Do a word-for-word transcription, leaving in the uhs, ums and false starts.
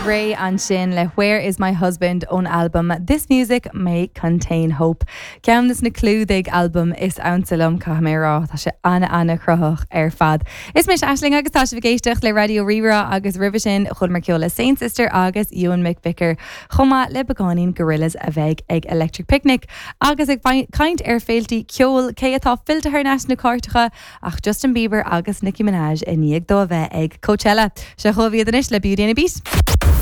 Raye ansin le Where is my husband ón albam This Music May Contain Hope. Ceann des na clúdaigh albam is ansa liom caithfidh mé rá tá sé an-an-chruthaitheach ar fad. Is mise Aisling agus tá sibh ag éisteacht le Raidió Rí-Rá agus roimhe sin chualamar ceol le Saint Sister agus Ewan McVicker chomh maith le beagáinín Gorillaz a bheidh ag Electric Picnic agus ag caint ar féiltí ceoil cé atá fillte thar n-ais sna cairteacha ach Justin Bieber agus Nicki Minaj i ndiaidh dó a bheith ag Coachella. Seo chugaibh iad anois le Beauty and a Beat.